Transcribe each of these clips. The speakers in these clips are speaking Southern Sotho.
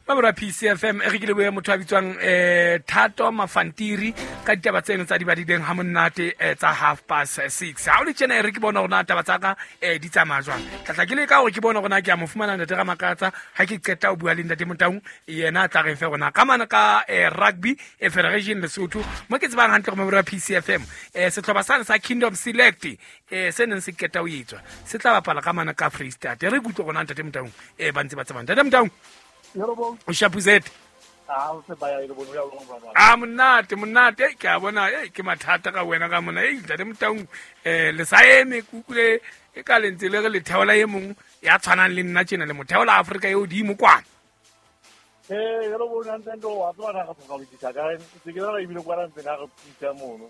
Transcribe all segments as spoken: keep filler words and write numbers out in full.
Mabura P C F M e re ke lebohe motho a bitswang eh Thato Mafantiri ka ditaba tseno tsa di badileng ha monate tsa half past six. Ha o le tjena e re ke bona hore na taba tsa ka eh di tsamaya jwang. Tlatla ke le ka hore ke bona hore na ke a mo fumana ntate Ramakatsa ha ke qeta ho bua le ntate Motaung yena a tla re fe rona ka mana ka rugby e Federation Lesotho mo ke tsebang hantle go Mabura P C F M eh sehlopha sa sa Kingdom Select eh se neng se qeta ho etswa se tla bapala ka mana ka Free State. Re kutlwe rona ntate Motaung eh ba ntse ba tsebang ntate Motaung. O shapuzete. Ah, o se baya ile bono ya lona. Ah, monate, monate ke a bona eh ke mathata ka wena ka mona eh ntate Motaung eh le sa eme kukule e ka lentse le re le theola e mong ya tshwanang le nna tjena le motheola Afrika e hodimo kwana. Eh yelo bona ntse wa tswana ga go bitsa ka se ke ra ibile kwa ntse ga re putsa mono.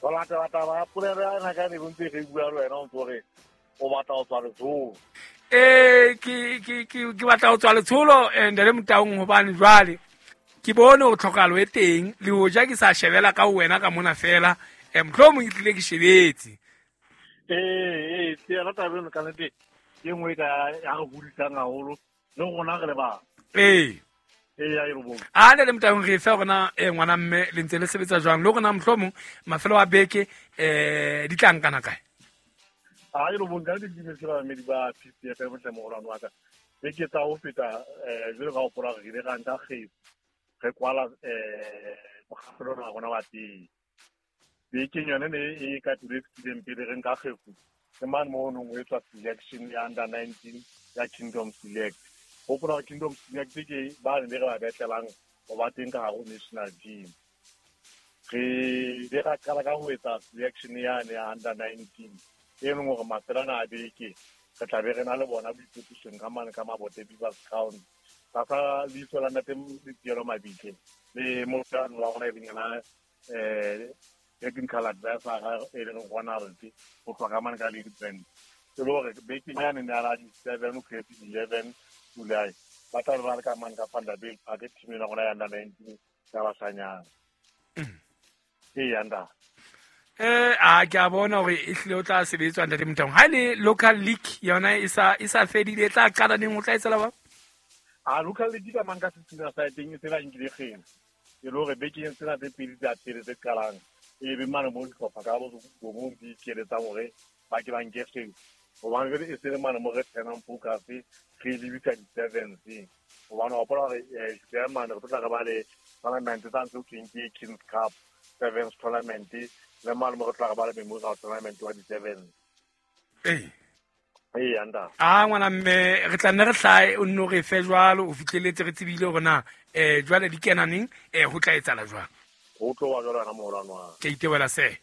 Wa lata lata ba pulera ya na ka ne bontse re bua le wena o ntse re o batla ho tswa letsholo. Eh ke ke ke ke batla ho tswa letsholo ntate Motaung hobane jwale ke bone ho tlhokalo e teng le hoja ke sa shebela ka wena ka mona fela eh mohlomong ke tlile ke shebetse. Eh eh ke rata beno ka nete ke nngwe ka ya re hodisang haholo le rona re le ba. Eh eh ya e bo. A ntate Motaung re fe rona eh ngwana mme le ntse le sebetsa jwang le rona mohlomong mafelo a beke eh di tla nkana kae? A e lo bonka di di ba medi ba P C F M tle mogolwane wa ka beke tsa ho feta eh jwalo ka ho pola re ile ra nka kgefu re kwala eh mokgahlelo wa rona wa teng bekeng yone ne e ka tule fetileng pele re nka kgefu ke mane mo nong o etswa selection ya under nineteen ya Kingdom Select. Hopola Kingdom Select ke ba ne re ba betlelang ho ba teng ka hare ho national team. Re ile ra qala ka ho etsa selection yane ya under nineteen e leng hore mafelana a beke re tla be re na le bona boikwetlisong ka mane ka Mabote Beavers Ground tlasa leihlo la ntate Letielo Mabitle le motho wa rona e leng yena eh technical advisor e leng Ronald ho tloha ka mane ka Lady Brand. E le hore bekeng yane ne a la di-seven ho fihla eleven July ba tla be ba le ka mane ka Vanderbilt Park team ena rona ya under nineteen ya bashanyana. Ee anda. Eh a ke a bona hore e hlile o tla sebetswa ntate Motaung. Ha le local league yona e sa e sa fedile e tla qala neng o tla etsela ba? A local league ka mang ka setsina sa teng e se ba nkile kgena. E le hore bekeng tsena tse pedi tsa pele tse qalang e be mane mo dihlopha ka bo bo di keletsang hore ba ke ba nke kgena. Hobane jwale e se le mane mo re tsenang focus re lebisa di-sevens. Hobane wa hopola hore eh mane re tlo tla re ba le tournament tsa ntse ho thweng ke Kings Cup sevens tournament le mane mo re tla re ba le memorial tournament wa di-sevens. Eh. Eh anda. Ah ngwana mme re tla nne re hlae o nno re fe jwalo o fihleletse re tsebile hore na eh jwale di kena neng eh ho tla etsala jwang. Ho tlo wa jwalo na moholo wa. Ke itewela se.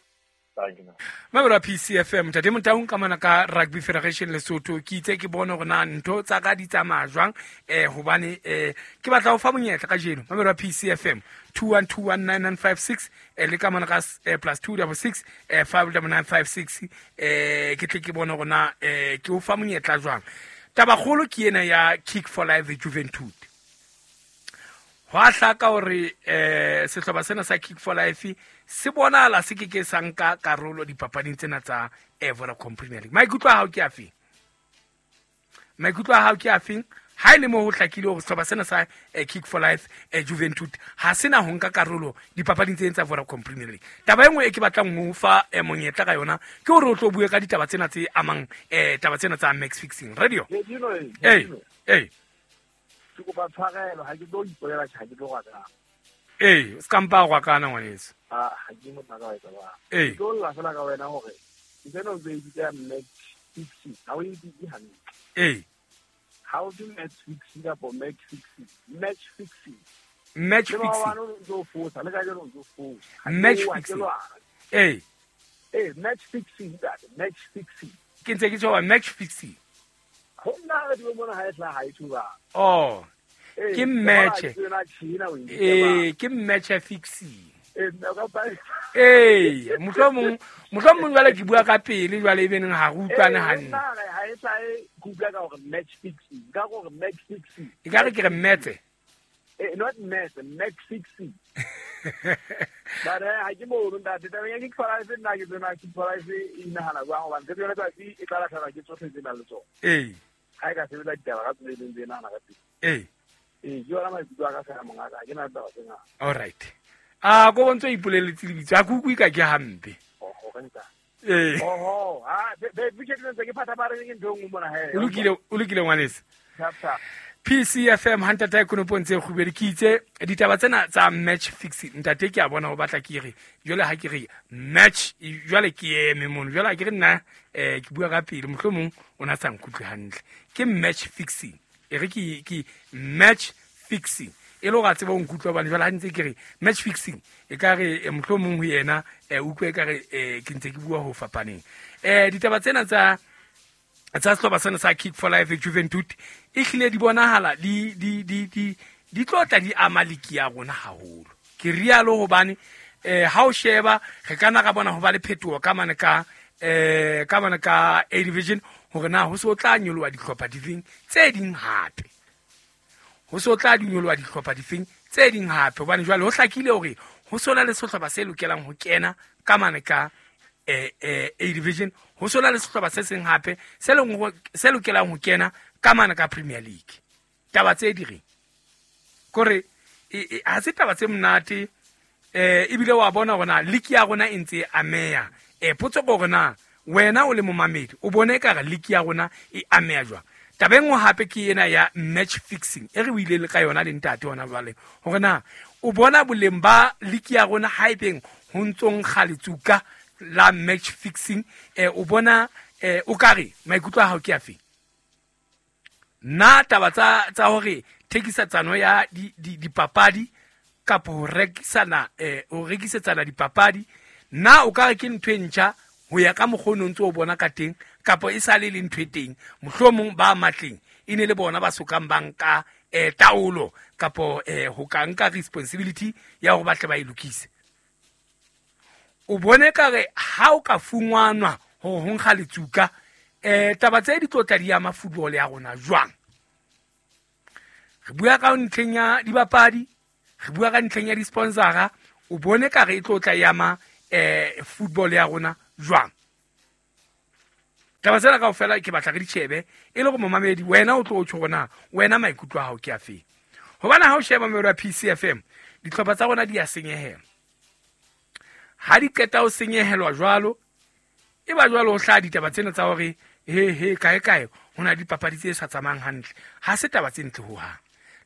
Thank you. Mabura P C F M ntate Motaung ka mana ka Rugby Federation Lesotho ke itse ke bone hore na ntho tsa ka di tsamaya jwang eh hobane eh ke batla ho fa monyetla kajeno. Mabura P C F M two one two one nine nine five six eh le ka mana ka plus two double six eh five double nine five six eh ke tle ke bone hore na eh ke o fa monyetla jwang. Taba kgolo ke ena ya Kick for Life Juventud. Ho a hlaka hore eh sehlopha sena sa Kick for Life se bonala se ke ke sa nka karolo dipapading tsena tsa Vodacom Premier League. Maikutlo a hao ke afeng? Maikutlo a hao ke afeng? Ha ile mo ho hlakile hore sehlopha sena sa Kick for Life Juventud ha sena ho nka karolo dipapading tsena tsa Vodacom Premier League. Taba e nngwe e ke batlang ho fa monyetla ka yona ke hore o tlo bue ka ditaba tsena tse amang eh taba tsena tsa match fixing. Radio. Eh eh ke kopa tshwarelo ha ke tlo ipolela tjha ke tlo rwakana. Eh, se ka mpa rwakana ngwaneso. Ah, ha ke mo tla ka etsa ba. Eh. Ke tlo lla fela ka wena hore ke tsena o tse bitsa match fixing. Ha o e bitse hantle. Eh. Ha o di match fixing kapa match fixing. Match fixing. Match fixing. Le ba bana o ntso fosa, le ka jeno o ntso fosa. Match fixing. Eh. Eh, match fixing that, match fixing. Ke ntse ke tjho match fixing. Ho nna re di bona ha e tla ha e thuba. Oh. Ke match. Eh, ke match fixing. Eh, nna ka pa. Eh, mohlomong mohlomong jwale ke bua ka pele jwale e beneng ha re utlwane hantle. Nna ha e tla e kutlwa ka hore match fixing, ka hore match fixing. E ka re ke re match. Eh, not match, match fixing. But ha ke mo ntate tabeng ya Kick for Life nna ke tsena Kick for Life e inahana jwang hobane tshepo yona tsatsi e tla lahlehelwa ke tsohle tse nang le tsona. Eh. Ha e ka sebetsa ditaba ka tsela e leng tse nahana ka teng. Eh. Ee, ke yona maikutlo a ka fela mongaka, ha ke na taba tse ngata. All right. A ko bontse o ipoleletse lebitso, a ke utlwe ka ke hampe. Ee. Oho, ha be be ke ntse ke phatha ba re ke ntho e nngwe mona he. O lokile, o lokile ngwaneso. Tap tap. P C F M ha ntata konopo ntse kgubedi ke itse ditaba tsena tsa match fixing ntate ke a bona o batla ke re jwale ha ke re match jwale ke eme mono jwale ha ke re nna eh ke bua ka pele mohlomong o na sa nkutlwe hantle ke match fixing e re ke ke match fixing e le hore a tsebe ho nkutlwa hobane jwale ha ntse ke re match fixing e ka re mohlomong ho yena utlwe e ka re ke ntse ke bua ho fapaneng eh ditaba tsena tsa tsa sehlopha sena sa Kick for Life Juventud e hlile di bonahala di di di di di tlotla di ama liki ya rona haholo ke rialo hobane eh ha o sheba re kana ra bona ho ba le phetoho ka mane ka eh ka mane ka A division hore na ho so tla nyoloha dihlopha difeng tse ding hape ho so tla nyoloha dihlopha difeng tse ding hape hobane jwale ho hlakile hore ho sona le sehlopha se lokelang ho kena ka mane ka eh eh A division ho sona le sehlopha se seng hape se leng se lokelang ho kena ka mane ka Premier League taba tse di reng kore ha se taba tse monate eh ebile wa bona hore na league ya rona e ntse e ameya eh potso ke hore na wena o le momamedi o bone ka re league ya rona e ameya jwang taba e nngwe hape ke ena ya match fixing e re buile le ka yona le ntate hona jwale hore na o bona boleng ba league ya rona haebeng ho ntsong kgaletsuka la match fixing eh o bona eh o kare maikutlo a hao ke afe na taba tsa tsa hore thekisatsano ya di dipapadi kapa ho rekisana eh ho rekisetsana dipapadi na o kare ke ntho e ntjha ho ya ka mokgwa o ntse o bona ka teng kapa e sale le ntho e teng mohlomong ba matleng e ne le bona ba sokang banka eh taolo kapa eh ho ka nka responsibility ya hore ba tle ba e lokise o bone ka re ha o ka fungwanwa hore ho nkga letsuka eh taba tse di tlotla di ama football ya rona jwang re bua ka ntlheng ya dibapadi re bua ka ntlheng ya di-sponsora o bone ka re e tlotla ya ama eh football ya rona jwang taba tsena kaofela ke batla re di shebe e le go momamedi wena o tlo o tjho rona wena maikutlo a hao ke afe hobane ha o sheba mero ya P C F M dihlopha tsa rona di a senyehela ha di qeta ho senyehelwa jwalo e ba jwalo ho hlaha ditaba tsena tsa hore he he kae kae ho na dipapadi tse sa tsamayang hantle ha se taba tse ntle hohang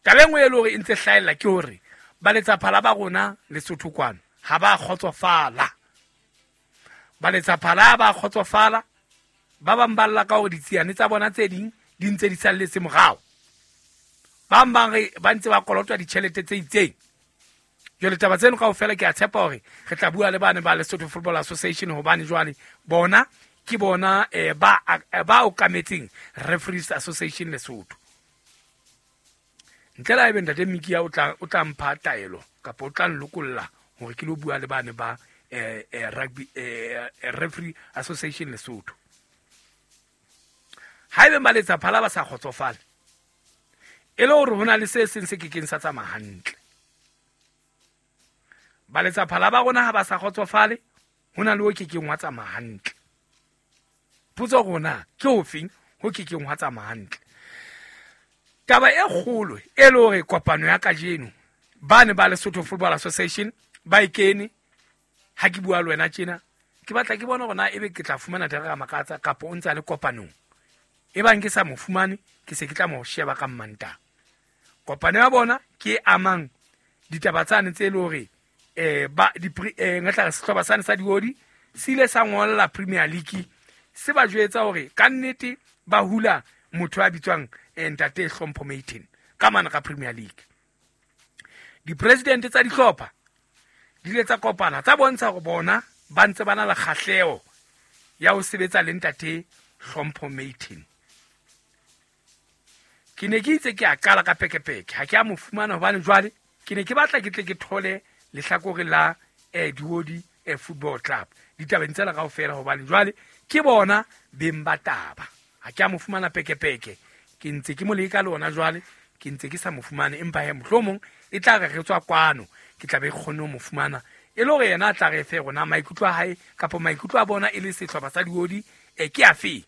taba e nngwe e le hore e ntse hlahella ke hore ba letsaphala ba rona Lesotho kwano ha ba kgotsofala ba letsaphala ba kgotsofala ba bang ba lla ka hore ditsiane tsa bona tse ding di ntse di salletse morao ba bang ba re ba ntse ba kolotwa ditjhelete tse itseng jwale taba tseno kaofela ke a tshepa hore re tla bua le bane ba Lesotho Football Association hobane jwale bona ke bona eh, ba ba okametseng Referees Association Lesotho ntle le haebe ntate Mikia o tla o tla mpha taelo kapa o tla nlokolla hore ke lo bua le bane ba eh, eh, rugby eh, Referee Association Lesotho haebe ba letsaphala ba sa kgotsofale e le hore ho na le se seng se kekeng sa tsamaya hantle ba letsaphala ba rona ha ba sa kgotsofale ho na le o kekeng wa tsamaya hantle potso rona ke ofeng ho kekeng wa tsamaya hantle taba e kgolo e le hore kopano ya kajeno ba ne ba Lesotho Football Association ba e kene ha ke bua le wena tjena ke batla ke bona hore na ebe ke tla fumana Tereka Makatsa kapa o ntse a le kopanong e bang ke sa mo fumane ke se ke tla mo sheba ka Mmantaha kopano ya bona ke amang ditaba tsane tse le hore eh ba di eh ngatla sehlopha sane sa diodi se ile sa ngolla Premier League se ba jwetsa hore ka nnete ba hula motho a bitswang ntate Hlompho Maiten ka mana ka Premier League di-president tsa dihlopha di ile tsa kopana tsa bontsha hore bona ba ntse ba na le kgahleho ya ho sebetsa le ntate Hlompho Maiten ke ne ke itse ke a qala ka pekepeke ha ke a mo fumana hobane jwale ke ne ke batla ke tle ke thole lehlakore la eh Diodi eh Football Club ditabeng tsena kaofela hobane jwale ke bona beng ba taba ha ke a mo fumana pekepeke ke ntse ke mo leka le ona jwale ke ntse ke sa mo fumane empa he mohlomong e tla re re tswa kwano ke tla be kgone ho mo fumana e le hore yena a tla re fe rona maikutlo a hae kapa maikutlo a bona e le sehlopha sa Diodi eh ke afe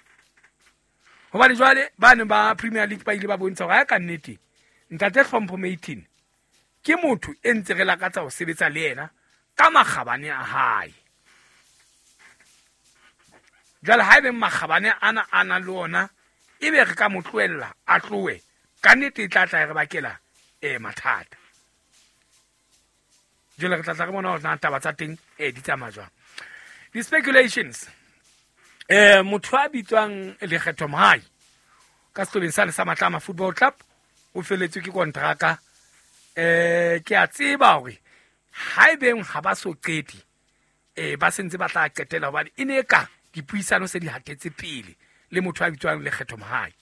hobane jwale ba ne ba Premier League ba ile ba bontsha hore ha ka nnete Ntate Hlompho Maitin ke motho e ntse re lakatsa ho sebetsa le yena ka makgabane a hae. Jwale haebe makgabane ana a na le ona ebe re ka mo tlohella a tlohe, ka nnete e tla tla re bakela eh mathata. Jwale re tla tla re bona hore na taba tsa teng eh di tsamaya jwang. Di-speculations eh motho a bitswang Lekgetho Mohai ka sehlobeng sane sa Matlama Football Club o feletswe ke kontraka. Eh ke a tseba hore haebeng ha ba so qete eh ba sentse ba tla qetela hobane e ne ka dipuisano se di hatetse pele le motho a bitswang Lekgetho Mohai.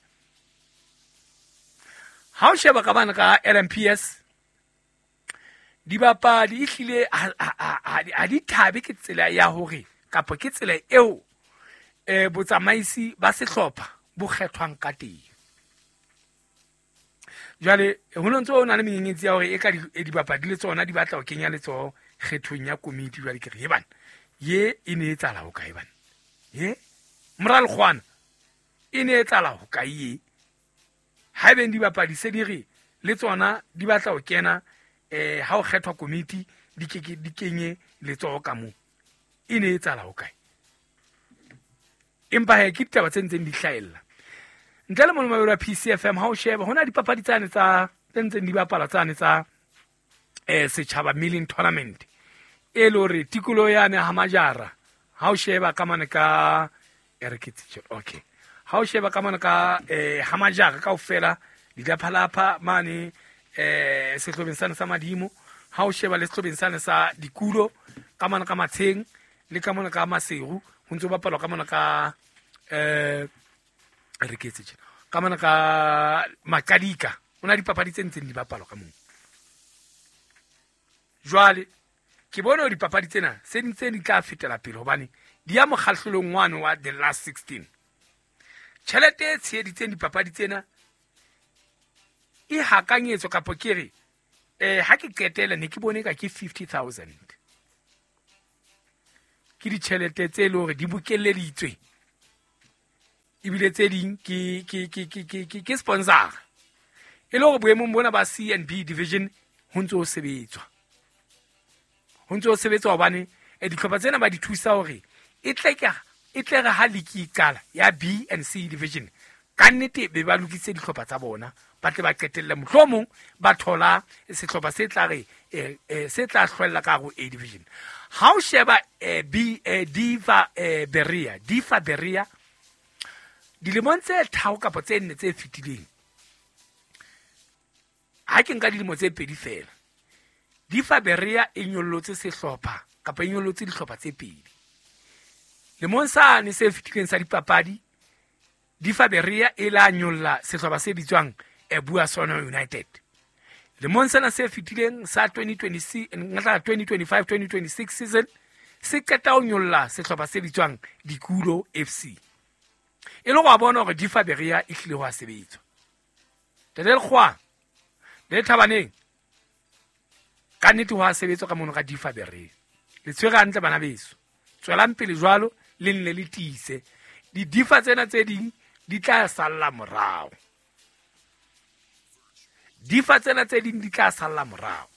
Ha o sheba ka bana ka L M P S dibapadi ehlile ha di thabe ke tsela ya hore kapa ke tsela eo eh botsamaisi ba sehlopha bo kgethwang ka teng. Jwale ho no ntse ho na le menyenyetsi ya hore e ka dibapadi le tsona di batla ho kenya letsoho kgethong ya komiti. Jwale ke re he bana ye e ne e tsala ho kae bana, ye moralkgwana e ne e tsala ho kae ye? Haebeng dibapadi se di re le tsona di batla ho kena eh ha ho kgethwa komiti di ke di kenye letsoho ka moo, e ne e tsala ho kae? Empa he ke ditaba tse ntseng di hlahella. Ntle le mono wa P C F M ha o sheba hona dipapadi tsane tsa tse ntseng di bapala tsane tsa eh setjhaba milling tournament e le hore tikoloho yane ha majara ha o sheba ka mane ka e re ke okay ha o sheba ka mane ka eh ha majara kaofela ditlaphalapha mane eh sehlobeng sane sa Madimo, ha o sheba le sehlobeng sane sa Dikulo ka mane ka Matsheng le ka mane ka Maseru ho ntso bapalwa ka mane ka eh re ke tse ka mane ka Makadika o na dipapadi tse ntseng di bapalwa ka moo. Jwale ke bone hore dipapadi tsena se ntse di tla fetela pele hobane di ya mokgahlelong wane wa the last sixteen. Tjhelete e tsheheditseng dipapadi tsena e hakanyetswa kapa ke re eh ha ke qetela ne ke bone ka ke fifty thousand. Ke ditjhelete tse le hore di bokelleditswe ebile tse ding ke ke ke ke ke ke sponsor e le hore boemong bona ba C and B division ho ntse ho sebetswa ho ntse ho sebetswa hobane dihlopha tsena ba di thusa hore e tle ka e tle re ha league e qala ya B and C division ka nnete be ba lokise dihlopha tsa bona ba tle ba qetelle mohlomong ba thola sehlopha se tla re se tla hlwella ka ho A division. Ha o sheba B Diva Berea Diva Berea dilemong tse tharo kapa tse nne tse fetileng, ha ke nka dilemo tse pedi fela, Difa Berea e nyollotse sehlopha kapa e nyollotse dihlopha tse pedi. Lemong sane se fetileng sa dipapadi, Difa Berea e la nyolla sehlopha se bitswang Buasono United. Lemong sena se fetileng sa twenty twenty-five twenty twenty-six season se qeta ho nyolla sehlopha se bitswang Dikulo F C. E le go bona hore Difa Berea e hlile ho a sebetswa. Tete Lekgowa le Thabaneng ka nnete ho a sebetswa ka mono ka Difa Berea. Le tshwere hantle bana beso. Tswelang pele jwalo le nne le tiise. Di-difa tsena tse ding di tla salla morao. Difa tsena tse ding di tla salla morao.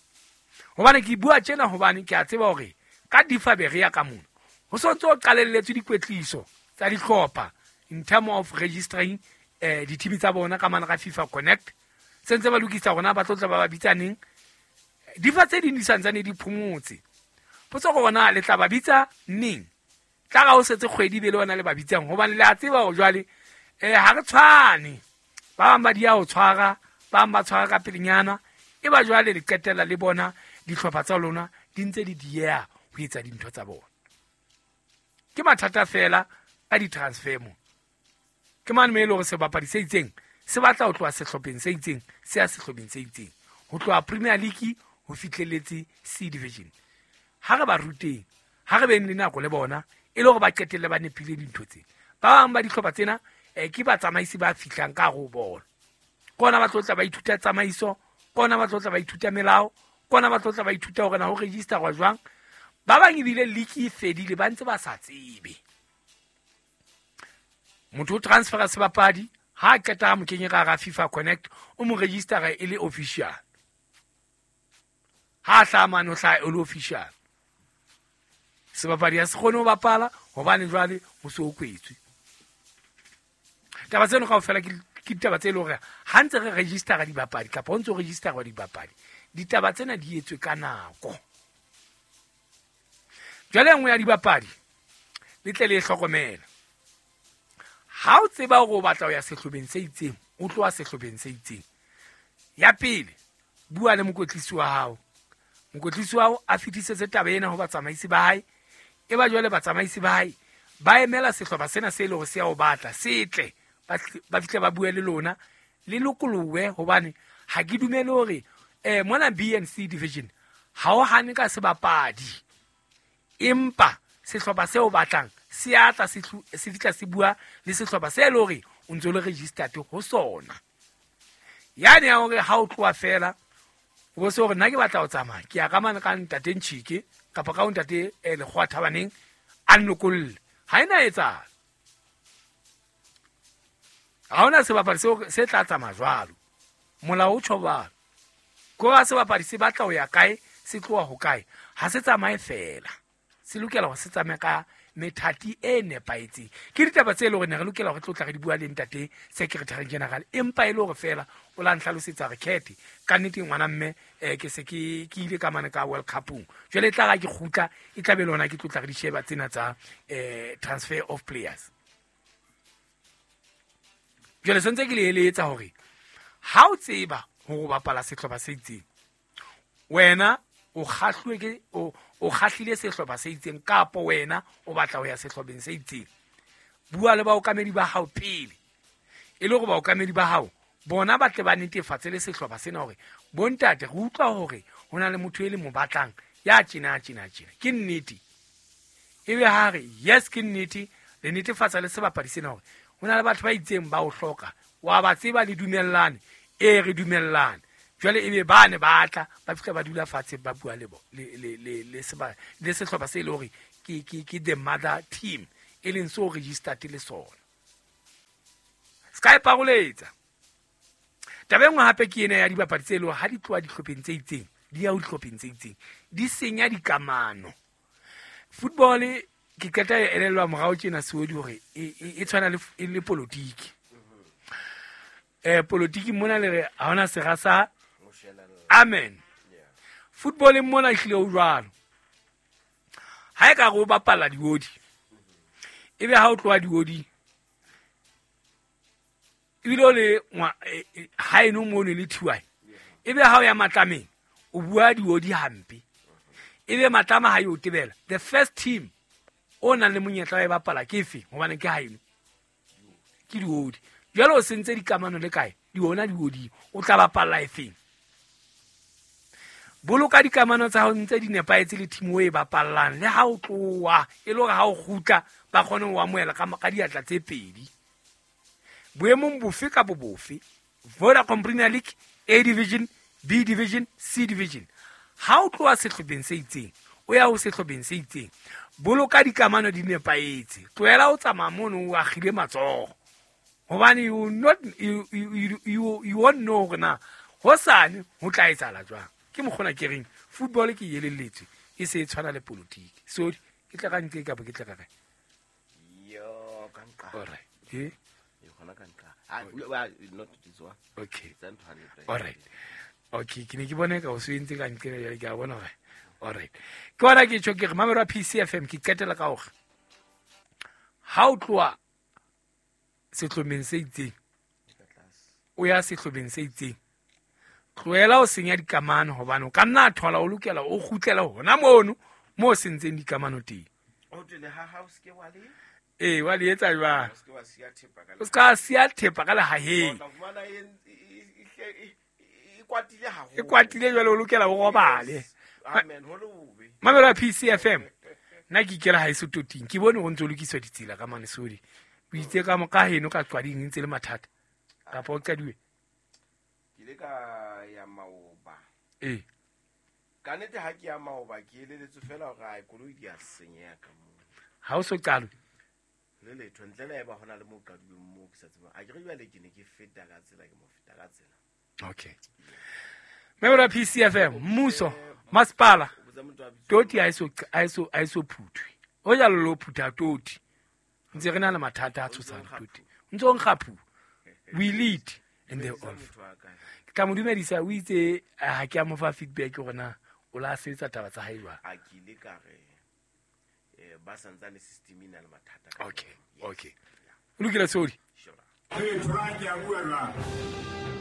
Hobane ke bua tjena hobane ke a tseba hore ka Difa Berea ka mono ho sontse ho qalelletswe dikwetliso tsa dihlopha in term of registering eh dithimi tsa bona ka mana ka FIFA Connect. Sentse ba lokisa rona ba tlotla ba ba bitsaneng. Difa tse ding di santsane di phomotse. Potso go bona le tla ba bitsa neng? Tla ga o setse kgwedi be le ona le ba bitsang hobane le a tseba hore jwale eh ha re tshwane. Ba bang ba di a o tshwara, ba bang ba tshwara ka pelenyana. E ba jwale le qetella le bona dihlopha tsa lona di ntse di dieha ho etsa dintho tsa bona. Ke mathata fela ka di-transfer mo. Ke mane mo e le hore sebapadi se itseng se batla ho tloha sehlopheng se itseng se ya sehlopheng se itseng, ho tloha Premier League ho fihlelletse C division. Ha re ba ruteng, ha re beng le nako le bona e le hore ba qetelle ba nepile dintho tse. Ba bang ba dihlopha tsena eh ke batsamaisi ba fihlang ka ho bona. Kona ba tlotla ba ithuta tsamaiso, kona ba tlotla ba ithuta melao, kona ba tlotla ba ithuta hore na ho register wa jwang. Ba bang ebile league e fedile ba ntse ba sa tsebe. Motho o transfera sebapadi Ha qeta mo kenye ka ga FIFA Connect o mo registera e le official. Ha hla mane o hla e le official. Sebapadi ha se kgone ho bapala hobane jwale ho se o kwetswe. Taba tseno kaofela ke ke ditaba tse leng hore ha ntse re registera dibapadi kapa ho ntse o registera dibapadi, ditaba tsena di etswe ka nako. Jwale nngwe ya dibapadi le tle le hlokomela. Ha o tseba hore o batla ho ya sehlopheng se itseng, o tloha sehlopheng se itseng. Ya pele, bua le mokwetlisi wa hao. Mokwetlisi wa hao a fetisetse taba ena ho batsamaisi ba hae. E ba jwale batsamaisi ba hae ba emela sehlopha sena se leng hore se ya o batla, se tle ba fihle ba bue le lona, le lokolohe hobane ha ke dumele hore eh mona B and C division ha o hane ka sebapadi. Empa sehlopha seo batlang se atla se se fitla se bua le sehlopha se le hore o ntse le registered ho sona. Yani ya hore ha o tloha fela o bo se hore nna ke batla ho tsamaya ke ya ka mane ka ntate Ntshike kapa ka ntate Lekgowa Thabaneng a nlokolle. Ha ena etsahala. Ha hona sebapadi seo se tla tsamaya jwalo. Molao o tjho jwalo. Ko ha sebapadi se batla ho ya kae, se tloha ho kae, ha se tsamaye fela. Se lokela hore se tsamaye ka methati e nepahetseng. Ke ditaba tse leng hore ne re lokela hore tlotla re di bua le ntate Secretary General, empa e le hore fela o la ntlhalosetsa re khethe ka nnete ngwana mme eh ke se ke ke ile ka mane ka World Cupong. Jwale e tla ra ke kgutla e tla be lona ke tlotla re di sheba tsena tsa eh transfer of players. Jwale sentse ke le eletsa hore ha o tseba hore o bapala sehlopha se itseng, wena o kgahluwe ke o o kgahlile sehlopha se itseng kapo wena o batla ho ya sehlopheng se itseng, bua le baokamedi ba hao pele e le hore baokamedi ba hao bona ba tle ba netefatse le sehlopha sena hore bontate re utlwa hore ho na le motho e le mo batlang ya tjena tjena tjena, ke nnete. Ebe ha re yes ke nnete, le netefatsa le sebapadi sena hore ho na le batho ba itseng ba o hloka, wa ba tseba le dumellane, e re dumellane. Jwale ebe ba ne ba tla ba fihla ba dula fatshe ba bua le bo le le le le seba le sehlopha se le hore ke ke ke the mother team e leng so registered le sona. Ska e paroletsa. Taba e nngwe hape ke ena ya dibapadi tse leng ha di tloha dihlopheng tse itseng di ya ho dihlopheng tse itseng di senya dikamano. Football ke qeta e elellwa morao tjena seodi hore e tshwana le le politiki. Eh politiki mona le re ha hona sera sa amen. Football mona ehlile o jwalo. Ha e ka re o bapala diodi, ebe ha o tloha diodi ebile o le ha eno mono le thiwae, ebe ha o ya Matlameng o bua diodi hampe, ebe Matlama ha yo tebela. The first team o nang le monyetla wa e bapala ke efe? Hobane ke haeno ke diodi. Jwale o sentse dikamano le kae? Di ona diodi, o tla bapalla efeng? Boloka dikamano tsa hao ntse di nepahetse le team o e bapallang, le ha o tloha e le hore ha o kgutla ba kgone ho amohela ka ka diatla tse pedi. Boemong bofe kapa bofe, Vodacom Premier League, A Division, B Division, C Division, ha o tloha sehlopheng se itseng o ya ho sehlopheng se itseng, boloka dikamano di nepahetse. Tlohela o tsamaya mono o akgile matsoho, hobane you not you you you, you won't know hore na hosane ho tla etsahala jwang. Ke mokgona ke reng football ke elelletswe e se e tshwana le politiki. So ke tla ka ntle kapa ke tla ka kae? Yo ka nqa. All right. Eh? Yo khona ka nqa. Ah, not this one. Okay. All right. Okay, ke ne ke bone ka o se entse ka ntle jwale ke a bona hore. All right. Ke ona ke tjho ke re mamelo wa P C F M ke qetela ka hore ha o tloha sehlopheng se itseng o ya sehlopheng se itseng, tlohela o senya dikamano hobane o ka nna thola o lokela o kgutlela hona mono mo sentseng dikamano teng. O tlele ha ha o ske wa le Eh wa le etsa jwang? O ske wa siya thepa ka O ska siya thepa ka lehaheng. O tla fumana e e kwatile haholo. E kwatile jwale o lokela o robale. Amen, ho le bobe. Mamelo ya P C F M. Nna ke ikela ha e sototing. Ke bone ho ntso lokiswa ditsela ka mane sodi. O itse ka mo ka heno ka qwading ntse le mathata. Kapa o qadiwe. Ke ile ka ya maoba. Eh. Ka nnete ha ke ya maoba ke eleletswe fela hore ai koloi di a senyeha ka moo. Ha o so qalwe. Le letho ntle le eba hona le mo qaduweng moo ke sa tsebang. A ke re jwale ke ne ke feta ka tsela ke mo feta ka tsela. Okay, member P C F M, mmuso, masepala, toti ha eso ha eso ha eso phuthwe. O ja lo phutha toti. Ntse re na le mathata a tshosang toti. Ntse o nkga phu. We lead and they all. Ka mo dumedisa o itse ha ke a mo fa feedback hore na o la sebetsa taba tsa hae jwang. A ke ile ka re eh ba santsane system ena le mathata. Okay, okay. O lokile sodi. Sure. Hey, try ke a bua jwang.